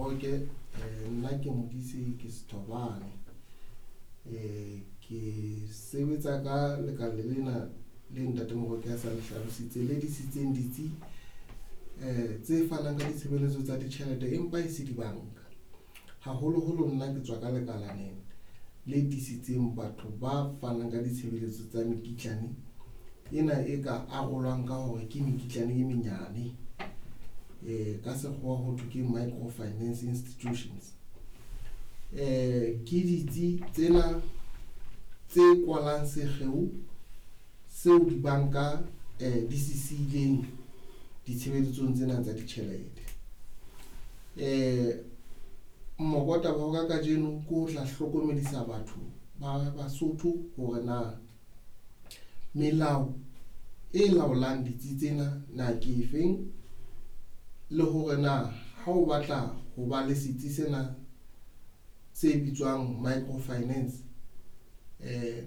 Moroke, nna ke Modise ke Sethobane. Ke sebetsa ka lekala lena le ntate Moroke a sa le hlalositse le disitseng ditsi tse fanang ka ditshebeletso tsa ditjhelete empa e se dibanka. Haholoholo nna ke tswa ka lekalaneng le tiisitseng batho ba fanang ka ditshebeletso tsa mekitlane ena e ka arolwang ka hore ke mekitlane e menyane. Ka sekgowa ho thwe ke micro finance institutions. Ke ditsi tsena tse kwalang sekgeo seo dibanka di se siileng ditshebeletsong tsena tsa ditjhelete. Mokotaba wa ka kajeno ke ho tla hlokomedisa batho ba Basotho hore na melao e laolang ditsi tsena na ke efeng, le hore na ha o batla ho ba le setsi sena se bitswang micro finance,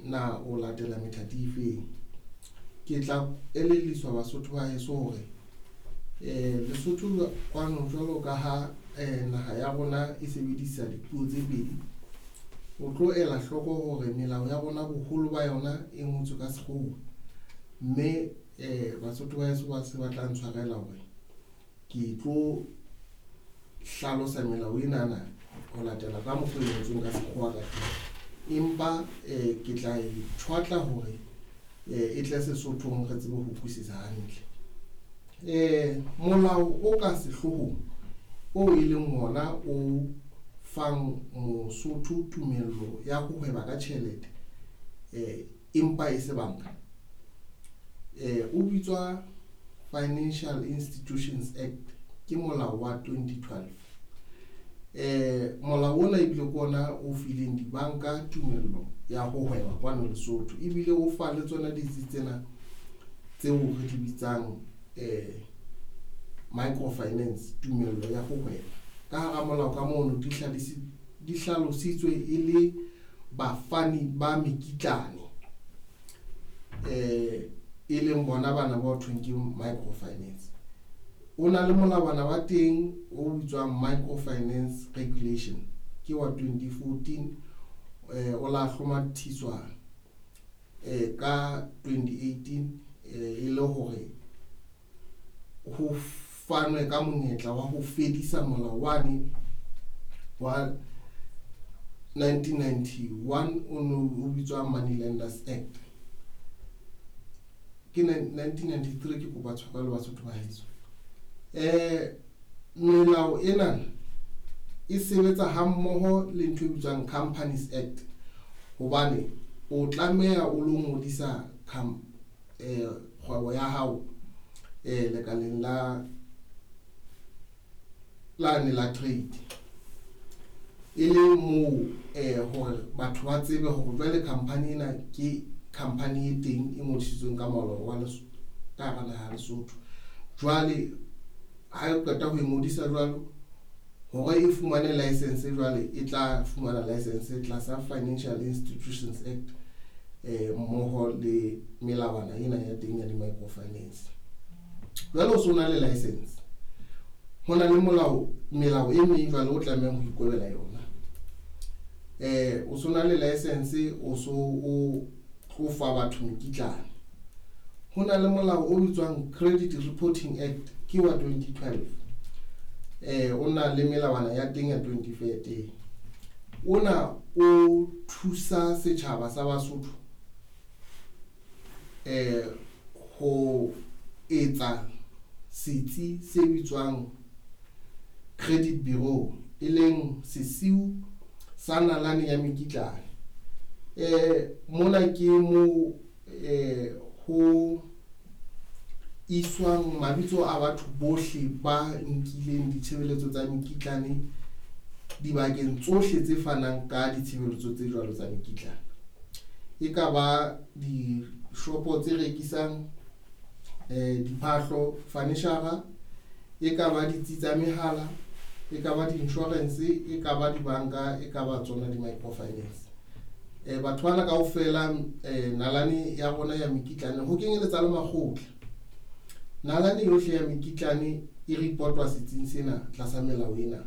na o latela methati e feng. Ke tla elelliswa Basotho ba heso hore Lesotho kwano jwalo ka ha naha ya rona e sebedisa dipuo tse pedi, o tlo ela hloko hore melao ya rona boholo ba yona e ngotswe ka sekgowa, mme Basotho ba heso ba se ba tla ntshwarela hore ke tlo hlalosa melao enana ho latela ka mokgwa e ngotsweng ka sekgowa ka teng. Empa ke tla e tjhwatla hore e tle Sesothong re tsebe ho utlwisisa hantle. Molao o ka sehloohong o e leng ona o fang Mosotho tumello ya ho hweba ka tjhelete, empa e se banka, o bitswa Financial Institutions Act, ke molao wa 2012. Molao ona ebile ke ona o fileng dibanka tumello ya ho hweba kwano Lesotho, ebile o fa le tsona ditsi tsena tseo re di bitsang microfinance tumello ya ho hweba. Ka hara molao ka mono di hlalositswe e le bafani ba mekitlane, e leng bona bana ba thweng ke microfinance. O na le molawana wa teng o bitswang Microfinance Regulation, ke wa 2014, o la hlomathiswa ka 2018, e le hore ho fanwe ka monyetla wa ho fedisa molao wane wa 1991 o no o bitswa Money Lenders Act. Ke 1993, ke kopa tshwarelo Basotho ba heso. Melao ena e sebetsa hammoho le ntho e bitswang Companies Act, hobane o tlameha o lo ngodisa kgwebo ya hao lekaleng la lane la trade, e le moo hore batho ba tsebe hore jwale company ena ke company e teng e ngodisitsweng ka molao wa ka hara naha ya Lesotho. Jwale ha e qeta ho e ngodisa jwalo hore e fumane license, jwale e tla fumana license tlasa Financial Institutions Act, mmoho le melawana ena ya teng ya di-microfinance. Jwale o so na le license, ho na le molao melao e meng jwale o tlamehang ho ikobela yona. O so na le license, o so o tlo fa batho mekitlane, ho na le molao o bitswang Credit Reporting Act, ke wa 2012. O na le melawana ya teng ya 2013. Ona o thusa setjhaba sa Basotho ho etsa setsi se bitswang credit bureau, e leng sesiu sa nalane ya mekitlane. Mona ke mo ho iswang mabitso a batho bohle ba nkileng ditshebeletso tsa mekitlane dibakeng tsohle tse fanang ka ditshebeletso tse jwalo tsa mekitlane. E ka ba dishopo tse rekisang diphahlo, furniture, e ka ba ditsi tsa mehala, e ka ba di-insurance, e ka ba dibanka, e ka ba tsona di-microfinance. Batho bana kaofela, nalane ya rona ya mekitlane, ho kenyeletsa le makgotla, nalane yohle ya mekitlane e reportwa setsing sena tlasa melao ena.